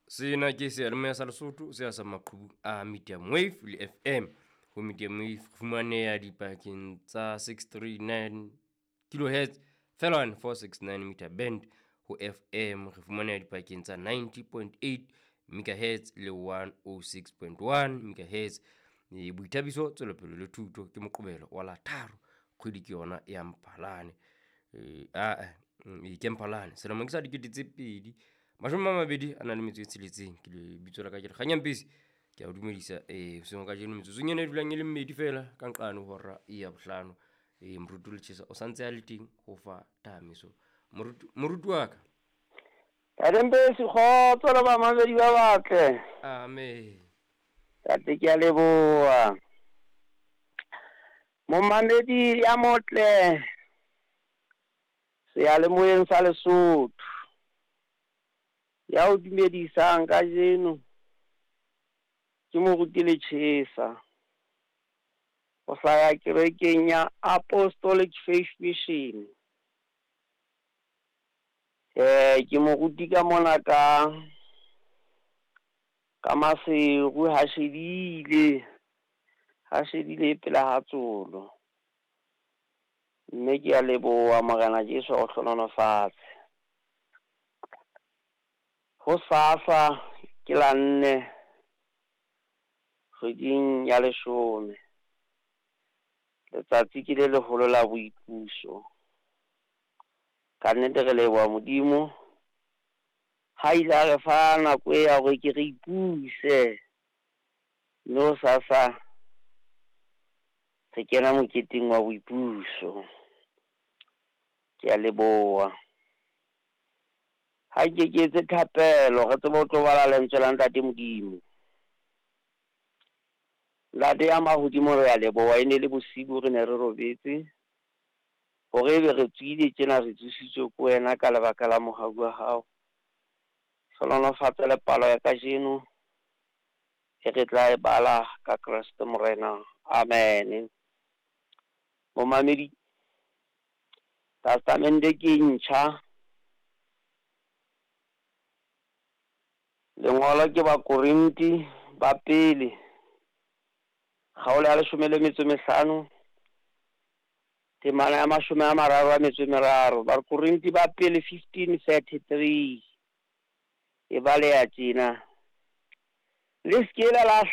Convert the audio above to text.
Sena ke seyalemoya sa Lesotho se sa maqhubu a medium wave le FM. Ho medium wave re fumaneha dipakeng tsa 639 kilohertz feelwane 469 meter band. Ho FM re fumaneha dipakeng tsa 90.8 megahertz le 106.1 megahertz. Boithabiso, tswelopele le thuto ke Moqebelo wa la tharo, kgwedi ke yona ya Mphalane. Ke Mphalane selemo ke sa 2026. Ke lebitso la ka ke Lekganya Mpesi, ke a o dumedisa hoseng kajeno metsotsong ena e dulang e le mmedi feela ka nqane ho hora ya bohlano. Moruti Letjhesa o santse a le teng ho fa thahamiso. Moruti wa ka. Ntate Mpesi, kgotso le bamamedi ba batle. Amen. Tate ke a leboha. Momamedi ya motle seyalemoyeng sa Lesotho ya o dumedisang kajeno ke Moruti Letjhesa ho hlaya kerekeng ya Apostolic Faith Mission. Ke moruti ka mona ka Maseru ha shebile pela ha tsolo. Mme ke a leboha Morena Jesu o hlohonolofatse. Ho sasa ke la nne kgweding ya leshome. Letsatsi ke le leholo la boipuso. Ka nnete re leboha Modimo ha ile a re fa nako ya hore ke re ipuse. Mme ho sasa re kena moketeng wa boipuso. Ke a leboha. Ha ke etse thapelo re tsebe ho tlo bala lentswe la Ntate Modimo. Ntate ya mahodimo re a leboha, e ne le bosibu re ne re robetse. Hore ebe re tswile tjena re tsositswe ke wena ka lebaka la mohau wa hao. Hlohonolofatsa le palo ya kajeno e re tla e bala ka Kreste Morena. Amen. Momamedi, Testamente ke ntjha. Lengolo ke Bakorinti ba pele, kgaolo ya 15, temana ya 33. Bakorinti ba pele 15:33 e baleha tjena: Le se ke la